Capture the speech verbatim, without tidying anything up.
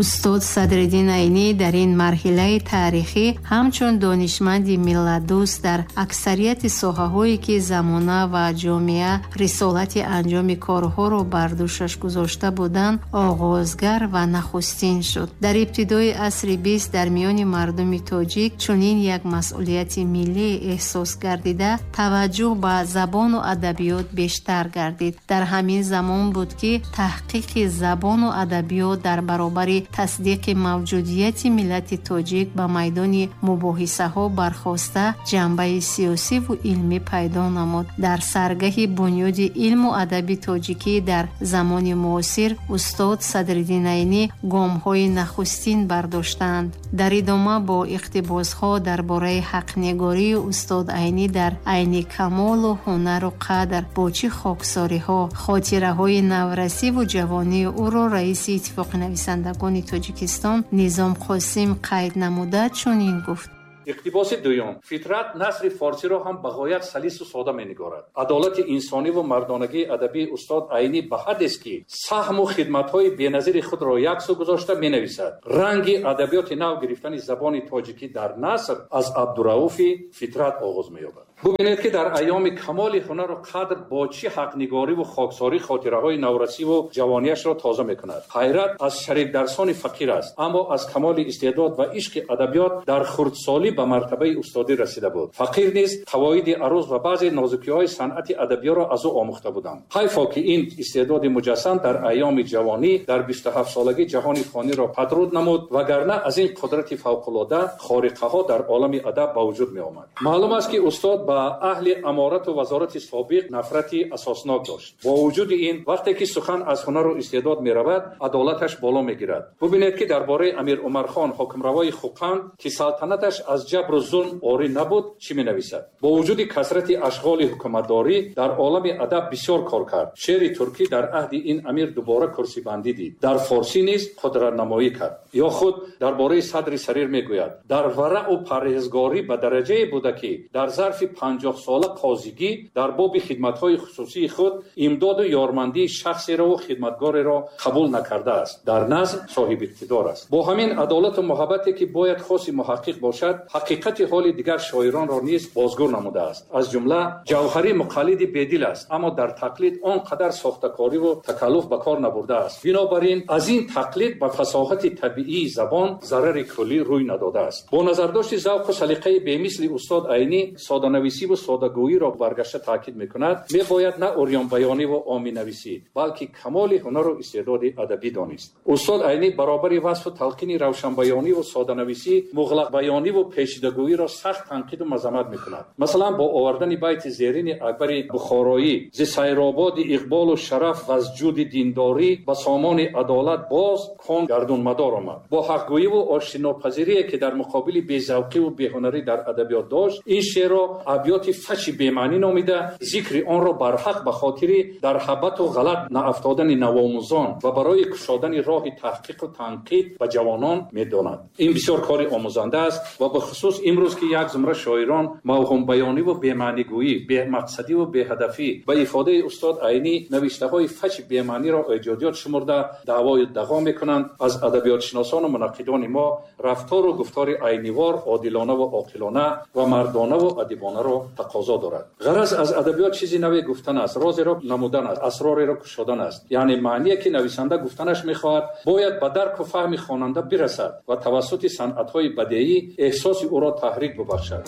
Устод Садриддин Айнӣ дар ин марҳилаи таърихӣ ҳамчун донишманди миллатдӯст дар аксарияти соҳаҳое ки замона ва ҷомеа рисолати анҷоми корҳоро бар дӯшаш гузошта буданд, оғозгар ва нахустин шуд. Дар ибтидои асри бист дар миёни мардуми тоҷик чунин як масъулияти миллӣ эҳсос гардида, таваҷҷӯҳ ба забону адабиёт бештар гардид. Дар ҳамин замон буд ки таҳқиқи забону адабиёт дар баробари тасдиқи мавҷудияти миллати тоҷик ба майдони мубоҳисаҳо бархоста ҷанбаи сиёсиву илмӣ пайдо намуд. Дар саргаҳи бунёди илму адаби тоҷикӣ дар замони муосир устод Садриддин Айнӣ гомҳои нахустин бардоштанд. Дар идома бо иқтибосҳо дар бораи ҳақнегории устод Айнӣ дар айни камолу ҳунару қадр бо чӣ хоксориҳо, хотираҳои наврасиву ҷавонии ӯро раиси Иттифоқи нависандагони Тоҷикистон Низом Қосим қайд намуда чунин гуфт. Иқтибоси дуюм. Фитрат насри форсиро ҳам ба ғоят салису сода менигорад. Адолати инсонӣ ва мардонагии адабии устод Айнӣ ба ҳаддест, ки саҳму хидматҳои беназири худро яксу гузошта менависад. Ранги адабиёти нав гирифтани забони тоҷикӣ дар наср аз Абдурауфи Фитрат оғоз меёбад. Бубинед, ки дар айёми камоли ҳунару қадр бо чӣ ҳақнигориву хоксорӣ хотираҳои наврасиву ҷавонияшро тоза мекунад. Ҳайрат аз шарикдарсони фақир аст, аммо аз камоли истеъдод ва ишқи адабиёт дар хурдсолӣ ба мартабаи устодӣ расида буд. Фақир низ қавоиди аруз ва баъзе нозукиҳои санъати адабиётро аз ӯ омӯхта буданд. Ҳайфо ки ин истеъдоди муҷассам дар айёми ҷавонӣ дар бисту ҳафт солагӣ ҷаҳони фониро падруд намуд, вагарна аз ин қудрати фавқулода хориқаҳо дар олами адаб ба вуҷуд меомад. Маълум аст, ки устод ба аҳли аморату вазорати собиқ нафрати асоснок дошт. Бо вуҷуди ин, вақте ки сухан аз ҳунару истеъдод меравад, адолаташ боло мегирад. Бубинед, ки дар бораи Амир Умархон, ҳокимравои Хӯқанд, ки салтанаташ аз ҷабру зулм орӣ набуд, чӣ менависад? Бо вуҷуди касрати ашғоли ҳукуматдорӣ дар олами адаб бисёр кор кард. Шеъри туркӣ дар аҳди ин амир дубора курсибандӣ дид. Дар форсӣ низ қудратнамоӣ кард. Ё худ дар бораи Садри Сарир мегӯяд: дар вараъу парҳезгорӣ ба дараҷае буда, ки дар зарфи панҷоҳ сола қозигӣ дар боби хидматҳои хусусии худ имдоду ёрмандии шахсеро ва хидматгореро қабул накардааст. Дар назм соҳиби иқтидор аст. Бо ҳамин адолату муҳаббате, ки бояд хоси муҳаққиқ бошад, ҳақиқати ҳоли дигар шоиронро низ бозгӯ намудааст. Аз ҷумла Ҷавҳарӣ муқаллиди бедил аст, аммо дар тақлид он қадар сохтакориву такаллуф ба кор набурдааст. Бинобар ин аз ин тақлид ба фасоҳати табиии забон зарари куллӣ рӯй надодааст. Бо назардошти завқу салиқаи бемисли устод Айнӣ соданависиву содагӯиро баргашта таъкид мекунад, мебояд на урёнбаёниву оминависӣ, балки камоли ҳунару истеъдоди адабӣ донист. Устод Айнӣ баробари васфу талқини равшанбаёниву соданависӣ, муғлақбаёниву пешидагӯиро сахт танқиду мазаммат мекунад. Масалан, бо овардани байти зерини Акбари Бухороӣ: зи сайрободи иқболу шараф ва аз ҷуди диндорӣ ба сомони адолат боз кон гардунмадор омад. Бо ҳақгӯиву оштинопазирие, ки дар муқобили безавқиву беҳунарӣ дар адабиёт дошт, ин шеърро абёти фачи бемаънӣ номида, зикри онро барҳақ ба хотири дар ҳабату ғалат наафтодани навомӯзон ва барои кушодани роҳи таҳқиқу танқид ба ҷавонон медонад. Ин бисёр кори омӯзанда аст ва бахусус имрӯз, ки як зумра шоирон мавҳумбаёниву бемаънигӯӣ, бемақсадиву беҳадафӣ ба ифодаи устод Айнӣ навиштаҳои фачи бемаъниро эҷодиёт шумурда даъвою дағо мекунанд, аз адабиётшиносону мунаққидони мо рафтору гуфтори айнивор одилонаву оқилона ва мардонаву адибонаро тақозо дорад. Ғараз аз адабиёт чизи наве гуфтан аст, розеро намудан аст, асрореро кушодан аст. Яъне маъние, ки нависанда гуфтанаш мехоҳад, бояд ба дарку фаҳми хонанда бирасад ва тавассути санъатҳои бадеӣ эҳсоси ӯро таҳрик бубахшад.